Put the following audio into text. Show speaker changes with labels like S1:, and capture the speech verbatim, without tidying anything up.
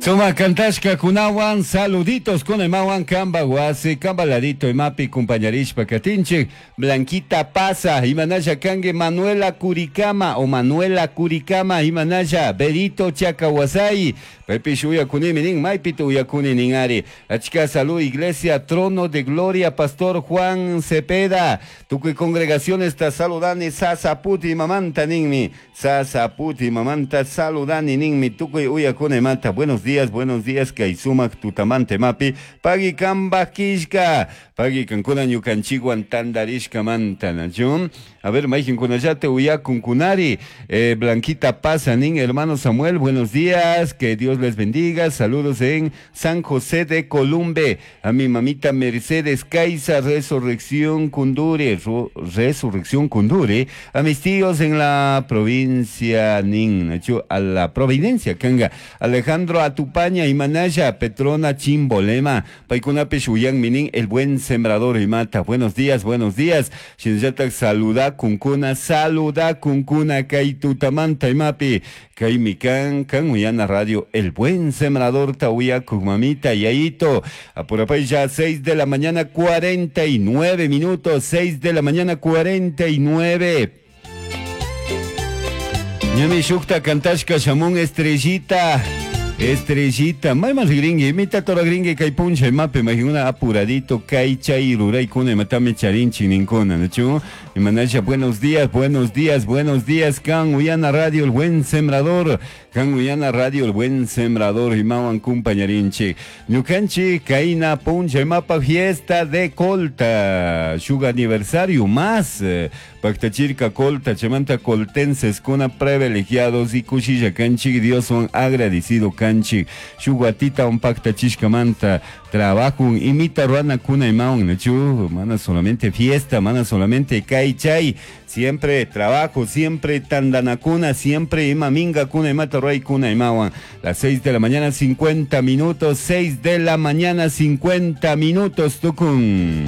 S1: Suma kantashka kunawan saluditos kunaymawan kamba wasi kamba ladito imapi kumpañarishpa katinchik Blanquita pasa imanalla kanki Manuela Curicama o Manuela Curicama imanalla Berito Chacawasay paypish uyakunimi nin maypita uyakuni nin ari achka salud iglesia Trono de Gloria Pastor Juan Cepeda tukuy congregaciones ta saludani Sasaputi mamanta ninmi Sasaputi mamanta saludani ninmi tukuy uyakunamanta buenos días, buenos días, kay sumak tutamante mapi, pagui kamba kishka, pagui kankuna ñukanchikwan tandarishka manta, nachu? A ver, mayqinkunallata uyakunkunari, eh, Blanquita pasa nin, hermano Samuel, buenos días, que Dios les bendiga, saludos en San José de Columbe, a mi mamita Mercedes Caiza, Resurrección Cundure, Resurrección Cundure, a mis tíos en la provincia nin, nachu? A la Providencia, kanga, Alejandro Atupaña y Manaya, Petrona Chimbolema, Paikunapish uyan minin, el buen sembrador y mata. Buenos días, buenos días. Shinllatak saluda kunkuna, saluda kunkuna, kay tutamanta imapi, kay mikan, kan uyana radio, el buen sembrador tauya mamita yayito. Apurapay ya seis de la mañana cuarenta y nueve minutos, seis de la mañana cuarenta y nueve. Ñami shukta kantashka shamun estrellita. Estrellita, mayman rigringi, imita tora gringi kay puncha imapi, imagina apuradito, kay chay ruray kuna imatami charinchi ninkuna, ¿no? Imanasha, buenos días, buenos días, buenos días, kan uyana radio, el buen sembrador, kan uyana radio, el buen sembrador, imawan kumpañarinchi. Ñukanchi, kaina puncha imapa fiesta de colta, shuga aniversario más, eh, pactachirka colta, chamanta coltenses, kuna privilegiados y kushilla kanchi, Dios son agradecido kanchi, shuguatita un pacta chishkamanta, trabajo, imita ruana kuna imaun, nachu, mana solamente fiesta, mana solamente kai chay, siempre trabajo, siempre tandanakuna, siempre ima minga kuna imata ruay kuna imawan. Las seis de la mañana cincuenta minutos, seis de la mañana cincuenta minutos, tukun.